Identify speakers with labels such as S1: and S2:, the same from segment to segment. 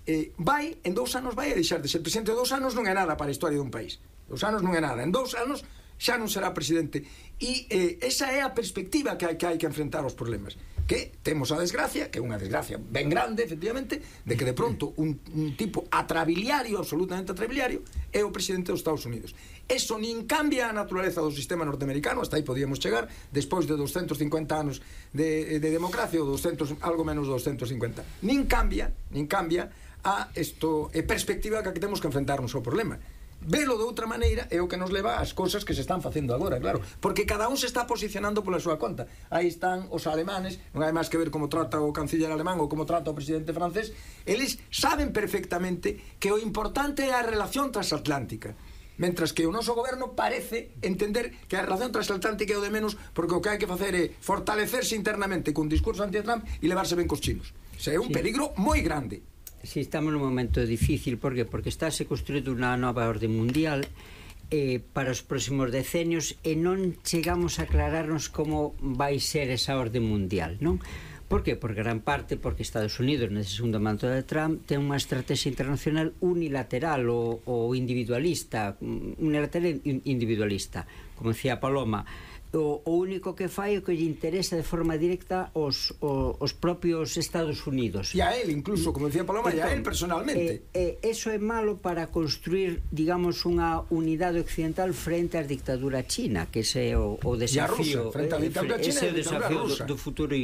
S1: en 2 anos vai a deixar de ser presidente. 2 anos non é nada para a historia dun país. 2 anos non é nada. En 2 anos xa non será presidente. E esa é a perspectiva que hai que enfrentar os problemas. Que temos a desgracia, que é unha desgracia ben grande, efectivamente, de que de pronto un tipo atrabiliario, absolutamente atrabiliario, é o presidente dos Estados Unidos. Eso nin cambia a naturaleza do sistema norteamericano, hasta aí podíamos chegar, despois de 250 anos de democracia, ou 200, algo menos de 250. Nin cambia a perspectiva que temos que enfrentarnos ao problema. Velo de outra maneira é o que nos leva ás cousas que se están facendo agora, claro, porque cada un se está posicionando pola súa conta. Aí están os alemanes, non hai máis que ver como trata o canciller alemán ou como trata o presidente francés. Eles saben perfectamente que o importante é a relación transatlántica, mentras que o noso goberno parece entender que a relación transatlántica é o de menos, porque o que hai que facer é fortalecerse internamente cun discurso anti-Trump e levarse ben cos chinos. O sea, é un peligro moi grande.
S2: Si estamos nun momento difícil, por qué? Porque estáse construído unha nova orde mundial para os próximos decenios e non chegamos a aclararnos como vai ser esa orde mundial, non? Por qué? Por gran parte porque Estados Unidos, nese segundo mandato de Trump, ten unha estrategia internacional unilateral ou individualista, como decía Paloma. O único que fai é que lle interesa de forma directa os propios Estados Unidos.
S1: E a él incluso, como decía Paloma, e a él personalmente.
S2: Eso é malo para construir, digamos, unha unidade occidental frente á dictadura china, que ese é o desafío.
S1: Frente á dictadura china
S2: ese é o desafío do futuro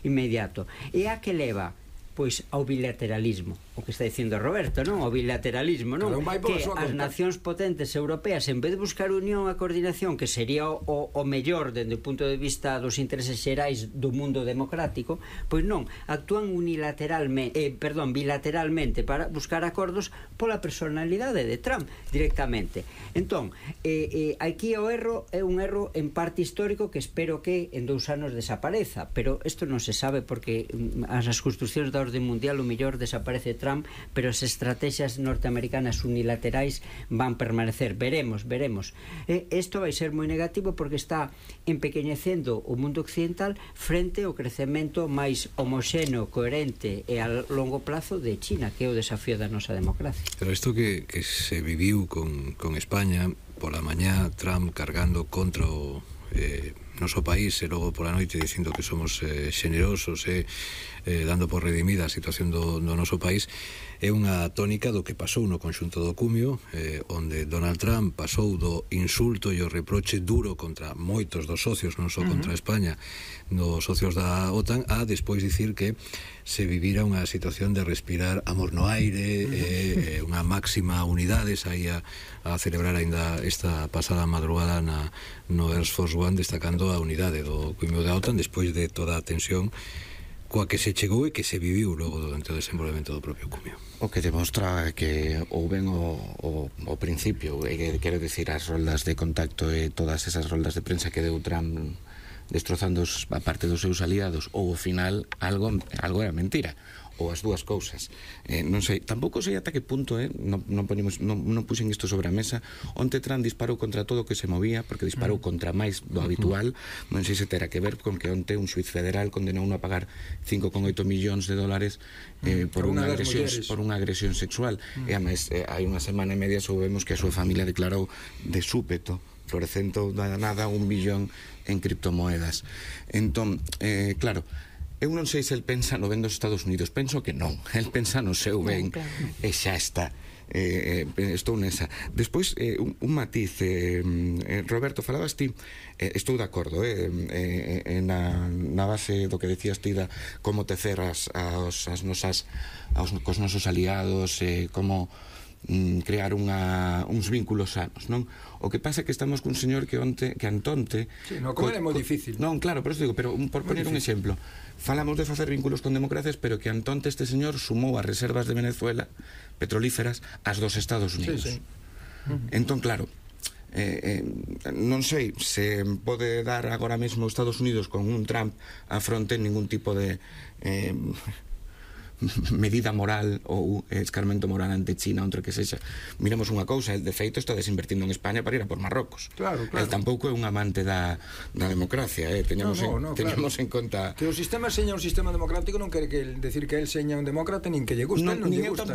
S2: inmediato. E a que leva? Pois ao bilateralismo, o que está dicindo Roberto, non? O bilateralismo, non? Que as nacións potentes europeas, en vez de buscar unión e coordinación, que sería o mellor dende o punto de vista dos intereses xerais do mundo democrático, pois non, actúan bilateralmente para buscar acordos pola personalidade de Trump directamente. Entón, aquí o erro é un erro en parte histórico que espero que en 2 anos desapareza, pero isto non se sabe porque as construccións da orde mundial o mellor desaparece Trump, pero as estrategias norteamericanas unilaterais van permanecer. Veremos. Isto vai ser moi negativo porque está empequeñecendo o mundo occidental frente ao crecemento máis homoxéneo, coherente e a longo plazo de China, que é o desafío da nosa democracia.
S3: Pero isto que se viviu con España, pola mañá Trump cargando contra o noso país e logo pola noite dicindo que somos xenerosos e dando por redimida a situación do noso país, é unha tónica do que pasou no conxunto do Cumio, onde Donald Trump pasou do insulto e o reproche duro contra moitos dos socios, non só contra España, dos socios da OTAN, a despois dicir que se vivira unha situación de respirar amor no aire, unha máxima unidade. Saía a celebrar ainda esta pasada madrugada no Air Force One, destacando a unidade do Cumio da OTAN despois de toda a tensión coa que se chegou e que se viviu logo durante o desenvolvemento do propio Cumio.
S4: O que demostra que houben o principio, quero dicir, as roldas de contacto e todas esas roldas de prensa que deu Trump destrozando a parte dos seus aliados, ou ao final algo era mentira, ou as dúas cousas. Non sei, tampouco sei ata que punto non puxen isto sobre a mesa. Onte Trump disparou contra todo o que se movía, porque disparou contra máis do habitual. Non sei se terá que ver con que onte un xuiz federal condenou a pagar 5,8 millóns de dólares por unha agresión sexual. E además, hai unha semana e media soubemos que a súa familia declarou de súpeto, florecendo da nada 1 billón en criptomoedas. Entón, claro, eu non sei se el pensa no ben dos Estados Unidos, penso que non, el pensa no seu ben, e xa está. Estou nesa. Despois, un matiz, Roberto, falabas ti, estou de acordo na base do que decías ti, como tecer cos nosos aliados, como crear uns vínculos sanos, non? O que pasa é que estamos cun señor que antonte...
S1: Sí, no, como é moi difícil.
S4: Non, claro, pero digo, pero por poner un exemplo, falamos de facer vínculos con democracias, pero que antonte este señor sumou as reservas de Venezuela petrolíferas ás dos Estados Unidos.
S1: Sí.
S4: Entón, claro, non sei se pode dar agora mesmo os Estados Unidos con un Trump a fronte ningún tipo de medida moral ou escarmento moral ante China, onde que sexa. Miramos unha cousa, el de feito está desinvertindo en España para ir a por Marrocos.
S1: Claro.
S4: El tampouco é un amante da democracia, teñamos en conta
S1: que o sistema seña un sistema democrático non quere decir que el seña un demócrata nin que lle gusta, non lle gusta.